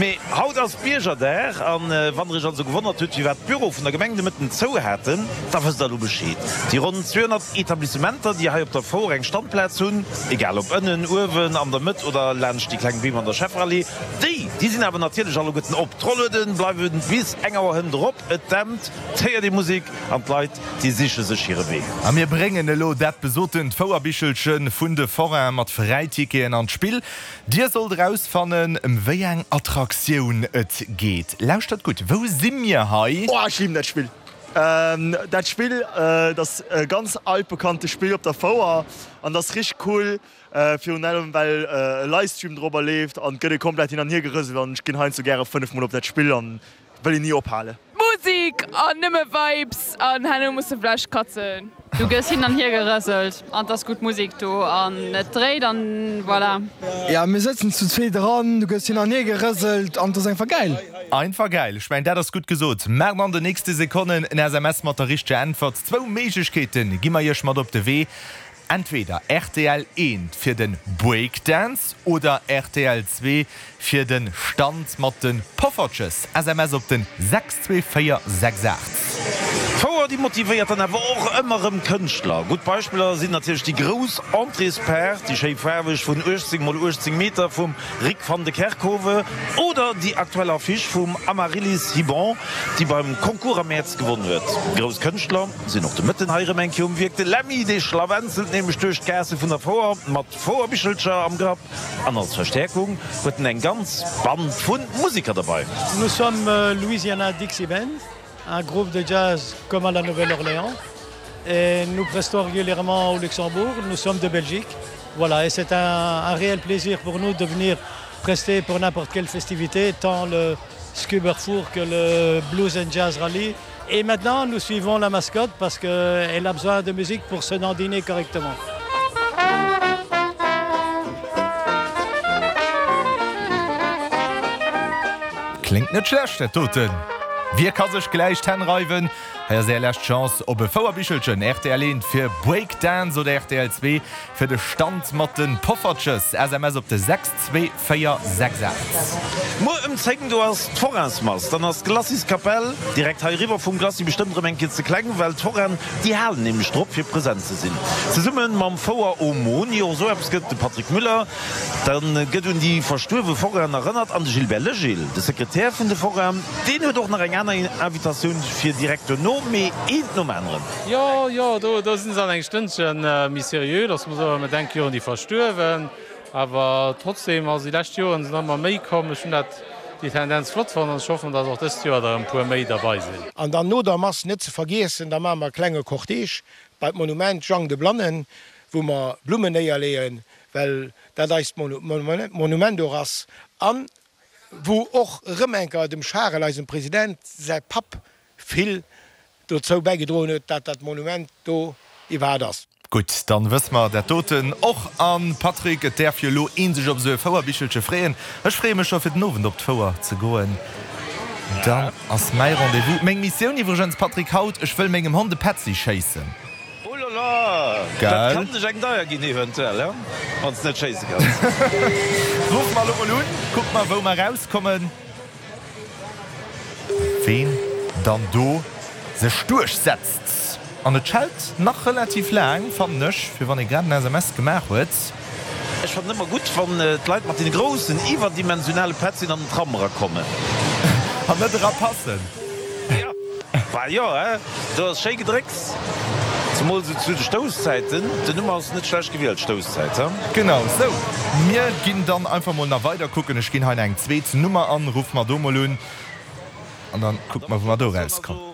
Mee haut ass Biergerdag an wann der iech also gewonnert hutt firwat d'Büro vun der Gemeng de Mëtten zou haten, da wësst der elo Bescheed. Déi ronn 200 Etablissementer déi hei op der Fouer eng Standplaz hunn, egal ob ënnen, uewen, an der Mëtt oder laanscht déi kleng Beem an der Schefferallee, déi déi sinn awer natierlech alleguerten op. D'Rolluede bleiwe bis eng Auer hënt erop, et dämpt, et héiert ee Musek an d'Leit déi siche sech hire Wee. A mir bréngen elo dat besotent Fouerbichelche vun de Forainen mat Fräiticketen an d'Spill. Dir sollt erausfannen, ëm wéi eng Attraktioun et geet. Lauschtert gutt, wou si mir hei? Oh ech liben dat Spill! Dat Spill, dat ass e ganz altbekannte Spill op der Fouer an dat ass richteg cool, virun allem well e Livestream dorobber leeft an et gëtt ee komplett hin an hier gerëselt an ech ginn heiansdo gäre 5 mol op dat Spill an wëll een ni ophalen. Musik an nëmme Vibes an herno muss de vläicht katzen. Du gëss hin an hier gerëselt an 't ass gutt Musik do an et dréit an voilà. Ja mir sëtzen zu zweet eran, du gëss hin an hier gerëselt an 't ass einfach gäil. Einfach gäil, ech mengen dat ass gutt gesot. Maacht an de nächste Sekonnen en SMS mat der richteger Äntwert. Zwou Méiglechkeete gi mer iech mat op de Wee. Entweder rtl 1 fir den Breakdance oder rtl 2 fir den Stand mat den Poffertjes. SMS op den 62468. D'Fouer déi motivéiert dann awer och ëmmer rëm Kënschtler. Gutt Beispiller sinn natierlech déi grouss Entréespaart, déi schéi faarweg vun 18 mol 18 Meter vum Rik van de Kerkhove oder déi aktuell Affiche vum Amaryllis Hibon, déi beim Concours am Mäerz gewonn huet. Grouss Kënschtler sinn och de Mëtten hei erëm eng Kéier um Wierk. De Lemmy, dee schlawenzelt nämlech duerch d'Gaasse vun der Fouer mat Fouerbichelcher am Grapp an als Verstäerkung huet en eng ganz Band vu Musiker derbei. Nous sommes Louisiana Dixie Band, un groupe de jazz comme à la Nouvelle-Orléans et nous prestons régulièrement au Luxembourg, nous sommes de Belgique voilà et c'est un, un réel plaisir pour nous de venir prester pour n'importe quelle festivité tant le Scuberfour que le Blues and Jazz Rally et maintenant nous suivons la mascotte parce qu'elle a besoin de musique pour se dandiner correctement. Kléngt net schlecht dat doten. Wie ka sech gläich d'Hänn reiwen? Hei ass är lescht Chance op e Fouerbichelchen. Rtl 1 fir Breakdance oder rtl 2 fir de Stand mat de Poffertjes. SMS op de 62468. Muer ëm 10 do ass d'Forainsmass. Dann ass d'Glaciskapell direkt hei eriwwer vum Glacis bestëmmt erëm eng Kéier ze kleng, well d'Forainen déi halen nämlech drop fir present ze sinn. Zesumme mam Fouer Aumône, jo esou eppes gëtt de Patrick Müller, dann gëtt un déi verstuerwe Forainen erënnert an de Gilbert Legil, de Sekretär vun de Forainen, deen huet och nach eng aner Invitatioun fir direkt duerno, mee eent nom aneren. Jo, jo, do, do sinn se an eng Stënnche méi seriö, dass mer soen, mer denke jo un déi Verstuerwen. Awer trotzdem, also déi lescht Joren sinn ëmmer méi komm. Ech hunn dat, déi Tendenz flott fonnt an ech hoffen, dass och dëst Joer der e puer méi derbei sinn. An dann no der Mass net ze vergiessen, da maache mer e klenge Cortège bei d'Monument Jang de Blannen, wou mer Blummen néierleeën, well dat eist Monument och ass an wou och erëm eng Kéier dem Charel, eisem President, säi Papp vill dozou bäigedroen huet, dat dat Monument do iwwerhaapt ass. Gutt, dann wësse mer dat doten och. An Patrick, et däerf jo elo een sech op esou e Fouerbichelche freeën. Ech freeë mech scho fir den Owend op d'Fouer ze goen. Dann ass mäi Rendez-vous, meng Missioun iwwregens, Patrick, haut, ech wëll mengem Hond e Petzi schéissen. Oh la la, dat kann dech eng deier ginn eventuell, he, wann s net schéisse kanns. Ruffe mer elo mol un, kucke mer wou mer erauskommen. Ween dann do sech duerchsetzt. An et schellt nach relativ laang, fannen ech, fir wann ee grad en SMS gemaach huet. Ech fannen ëmmer gutt, wann d'Leit mat deene groussen, iwwerdimensionale Petzien an den Tram erakommen. An net erapassen. Jo, bah jo, he, do ass schéi Gedrécks, zemol esou zu de Stousszäiten. Den Numm ass net schlecht gewielt, Stousszäit, he. Genau sou. Mir ginn dann einfach mol nach weider kucken. Ech ginn hei nach eng zweet Nummer an, ruffe mer do mol un an dann kucke mer wou mer do rauskommen.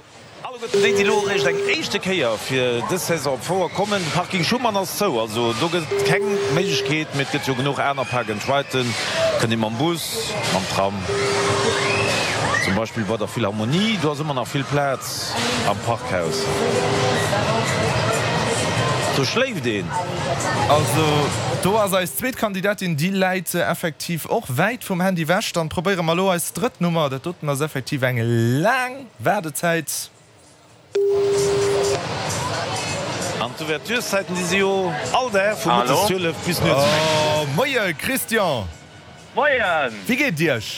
Alleguerten déi, déi elo eréischt eng éischte Kéier fir dës Saison op d'Fouer kommen, de Parking Schuman ass zou, also do gëtt et keng Méiglechkeet, mee et gëtt jo genuch aner Park and Riden, kënnt ee mam Bus, mam Tram, zum Beispill bei der Philharmonie, do ass ëmmer nach vill Plaz am Parkhaus, do schléift een. Also do ass eis zweet Kandidatin, déi läit effektiv och wäit vum Handy wech. Dann probéiere mer elo eis drëtt Nummer, dat doten ass effektiv eng laang. Waardezäit. An d'Ouvertureszäiten, déi si jo all Dag vu mëttes 12 bis nuets um eng. Moie Christian! Moien! Wéi geet et Iech?